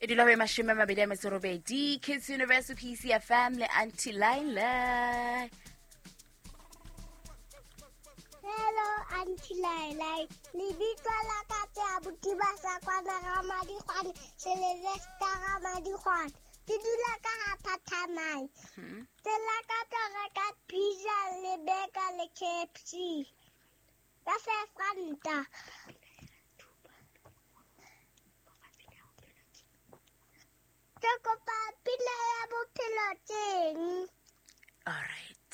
E dula ho e 28 Kids Universal PCFM le Auntie Laila. Hello, Auntie Laila. Lebitso la ka ke abuti ba sa kwana Ramadikgwane, Sylvester Ramadikgwane. Ke dula ka ha Phathamai. Ke lakatsa ho reka pizza le burger le KFC. Ka 5 ranta. Ke kopa pina ya Bophelo Teng. Alright,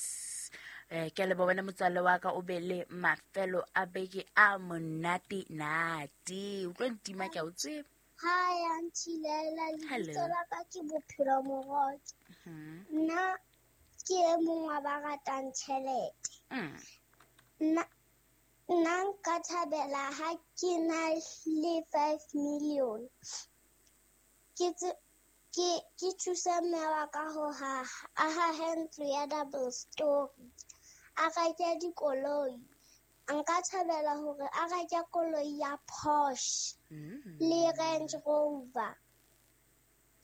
ke a leboha wena motswalle wa ka, o be le mafelo a beke a monate nate. O tlo ntima, ke a o tseba. Hi, Auntie Laila. Hello. Lebitso la ka ke Bophelo Morotse. Nna ke e mong wa ba ratang tjhelete. Nna nka thabela ha ke na le 5 million. Ke thuse mme wa ka ho haha, a hahe ntlo ya double story. A reke dikoloi. Nka thabela hore a reke koloi ya Porsche le Range Rover.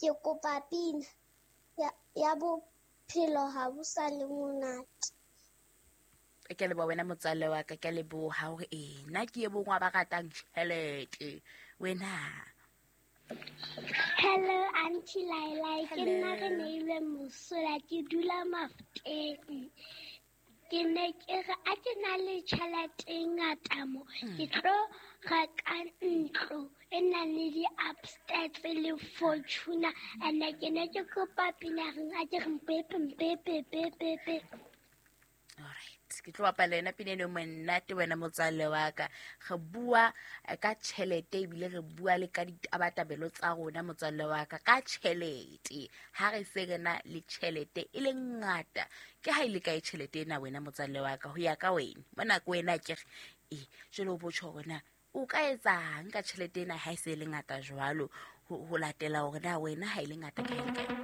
Ke kopa pina ya Bophelo ha bo sa le monate. Ke a leboha wena motswalle wa ka, ke a leboha hore ee, nna ke e mong wa ba ratang tjhelete wena. Hello, Auntie Laila. Ke nna re Hello. Neilwe Mosola, ke dula Mafuteng. Ke ne ke re a ke na le tjhelete e ngata mo, ke tlo reka ntlo e nang le di-upstairs le Fortuner, and ke ne ke kopa pina reng a ke re mpepe mpepe pepepe. Alright, ke tlo bapala yona pina eno monate wena motswalle wa ka. Re bua ka tjhelete, ebile re bua le ka ditabatabelo tsa rona, motswalle wa ka, ka tjhelete. Ha re se re na le tjhelete e le ngata, ke ha e le kae tjhelete ena wena motswalle wa ka, ho ya ka wena mona ko wena? Ke re ee, jwale o botjho hore na o ka etsang ka tjhelete ena ha e se e le ngata jwalo, ho latela hore na wena ha e le ngata ke ha e le kae.